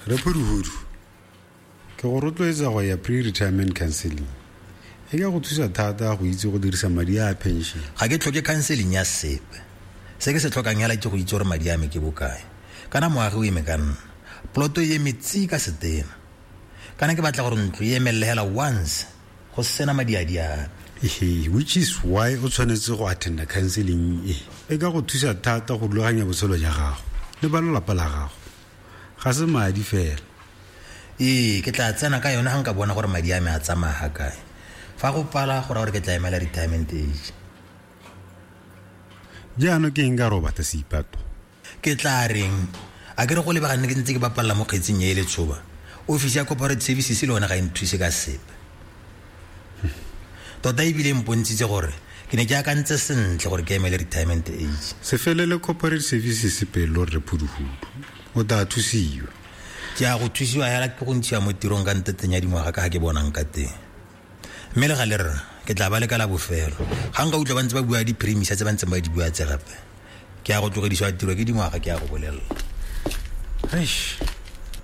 Re Phuduhudu, ke go rotloetsa go ya pre-retirement counseling. E ka go thusa thata go itse go dirisa madi a pension. Ga ke tlhoke counseling ya sepe. Se ke se tlhokang hela ke go itse gore madi a me ke bokae. Kana moagi o eme ka nna. Poloto e eme tsi ka setena. Kana ke batla gore ntlo e emelele hela once go sena madi a di ape. Ehe, which is why o tshwanetse go attenda counseling e. E ka go thusa thata go rulaganya botshelo ja gago le ba lelapa la gago. Ga se madi fela. Ee, ke tla tsena ka yone ga nka bona gore madi a me a tsamaya ga kae. Fa go pala go raya gore ke tla emela retirement age. Jaanong ke eng ka re o batla seipato? Ke tla reng? A ke re go lebega nne ke ntse ke bapalela mo kgetsing e e letshoba. Ofisi ya corporate services le yone ga e nthuse ka sepe. Tota ebile e mpontshitse gore ke ne ke akantse sentle gore ke emele retirement age. Se felele corporate services pelo rre Phuduhudu. O tla thusiwa. Ke a go thusiwa hela ke go ntshiwa mo tirong ka nteteng ya dingwaga ka ga ke bonang ka teng. Mme le gale rra, ke tla ba leka la bofelo. Ga nka utlwa ba ntse ba bua di-premisa tse ba ntseng ba di bua tse gape. Ke a go tlogedisiwa tiro ke dingwaga ke a go bolelela. Eish.